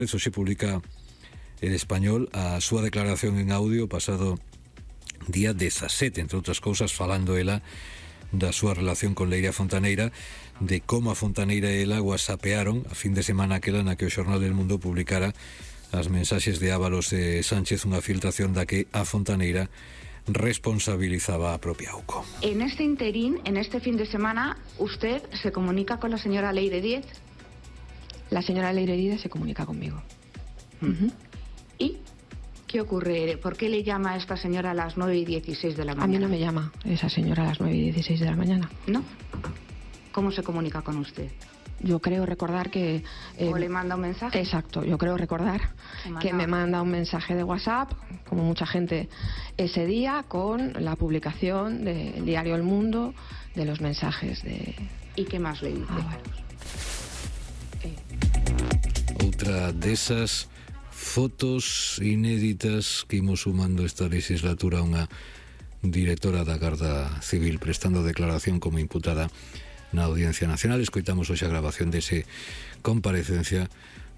Eso se publica El Español a súa declaración en audio pasado día 17, entre outras cousas falando ela da súa relación con Leira Fontaneira, de como a Fontaneira e ela whatsappearon a fin de semana aquela na que o Xornal del Mundo publicara as mensaxes de Ábalos e Sánchez, unha filtración da que a Fontaneira responsabilizaba a propia AUCO. En este interín, en este fin de semana, ¿usted se comunica con la señora Leire Díez? La señora Leire Díez se comunica conmigo. ¿Y qué ocurre? ¿Por qué le llama a esta señora a las 9:16 de la mañana? A mí no me llama esa señora a las 9:16 de la mañana. ¿No? ¿Cómo se comunica con usted? Yo creo recordar que... ¿O le manda un mensaje? Exacto, yo creo recordar que me manda un mensaje de WhatsApp, como mucha gente ese día, con la publicación del diario El Mundo, de los mensajes de... ¿Y qué más le dice? Outra desas fotos inéditas que imos sumando esta legislatura, unha directora da Garda Civil prestando declaración como imputada na Audiencia Nacional. Escoitamos hoxe a grabación dese comparecencia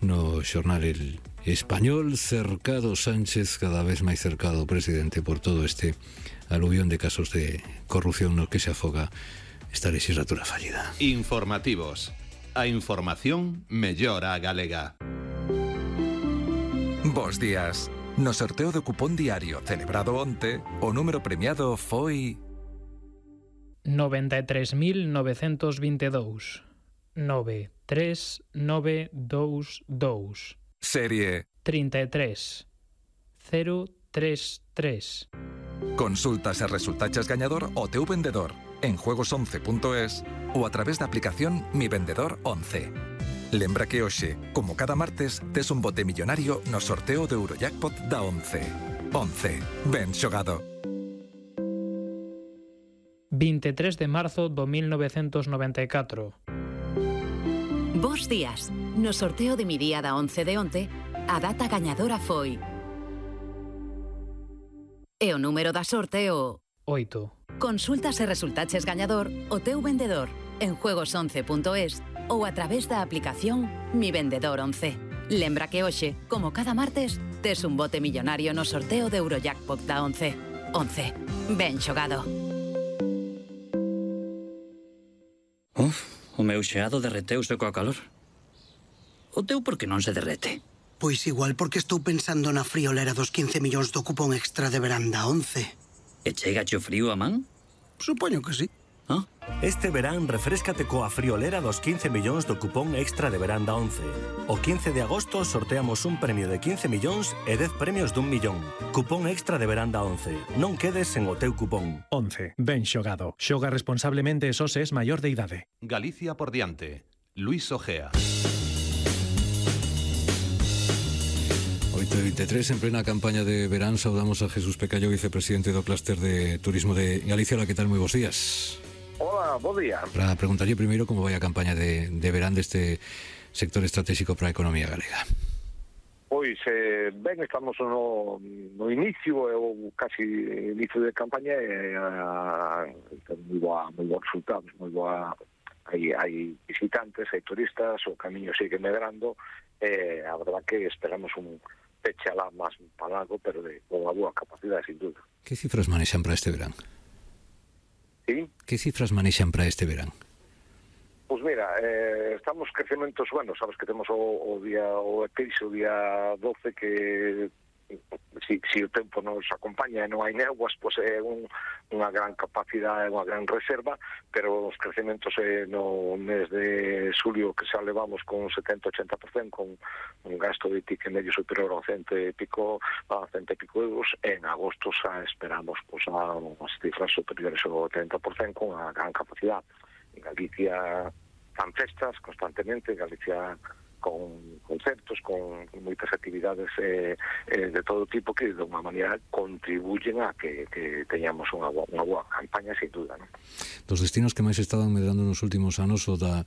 no xornal El Español. Cercado Sánchez, cada vez máis cercado o presidente por todo este aluvión de casos de corrupción no que se afoga esta legislatura fallida. Informativos. A información mellora a galega. Bos días. No sorteo do cupón diario celebrado onte, o número premiado foi 93.922. 93922. serie 33033. Consultas e resultaches gañador o teu vendedor en juegos11.es ou a través da aplicación Mi Vendedor 11. Lembra que hoxe, como cada martes, tes un bote millonario no sorteo do Eurojackpot da 11. 11. Ben xogado. 23 de marzo do 1994. Bos días. No sorteo de mi día da 11 de onte, a data gañadora foi... E o número da sorte o... 8. Consultas e resultaches gañador o teu vendedor en juegos11.es ou a través da aplicación Mi Vendedor 11. Lembra que hoxe, como cada martes, tes un bote millonario no sorteo de Eurojackpot da 11. 11. Ben xogado. O meu xeado derreteuse coa calor. O teu por que non se derrete? Pois igual porque estou pensando na friolera dos 15 millóns do cupón extra de verán da 11. E chegache o frío a man? Supoño que sí. Ah? Este verán refréscate coa friolera dos 15 millóns do cupón extra de verán da 11. O 15 de agosto sorteamos un premio de 15 millóns e 10 premios d'1 millón. Cupón extra de verán da 11. Non quedes sen o teu cupón. 11. Ben xogado. Xoga responsablemente e só se es maior de idade. Galicia por diante. Luis Ojea. 8:23, en plena campaña de verán, saudamos a Jesús Pecallo, vicepresidente do Clúster de Turismo de Galicia. Hola, que tal? Moi bons días. Hola, bo día. Para preguntarlle primeiro como vai a campaña de verán deste sector estratégico para a economía galega. Pois, ben, estamos no inicio, ou casi inicio de campaña, moi boa resultados, moi boa. Hai visitantes, hai turistas, o camiño sigue medrando, a verdad que esperamos un peche alá máis palago, pero de unha boa capacidade, sin duda. Que cifras manexan para este verán? Sí? Que cifras manexan para este verán? Pois mira, estamos crecementos, bueno, sabes que temos o eclipse o día 12 que si o tempo nos acompaña e non hai néguas, pois é unha gran capacidade, unha gran reserva, pero os crecementos no mes de xulio que xa levamos con 70-80%, con un gasto de ticket medio superior a 100 e pico euros, en agosto xa esperamos pois a unhas cifras superiores ao 30% con a gran capacidade. En Galicia fan festas constantemente, en Galicia con concertos, con moitas actividades de todo tipo que de unha maneira contribuyen a que teñamos unha boa campaña, sin duda, non? Dos destinos que máis estaban medrando nos últimos anos o da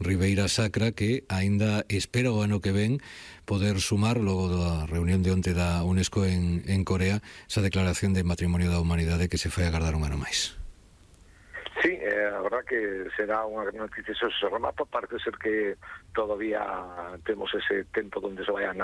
Ribeira Sacra, que aínda espera o ano que ven poder sumar, logo da reunión de onte da UNESCO en Corea, esa declaración de Patrimonio da Humanidade que se foi agardar un ano máis. Sí, verdad que será unha gran noticia se remato. Parece ser que todavía temos ese tempo donde se vayan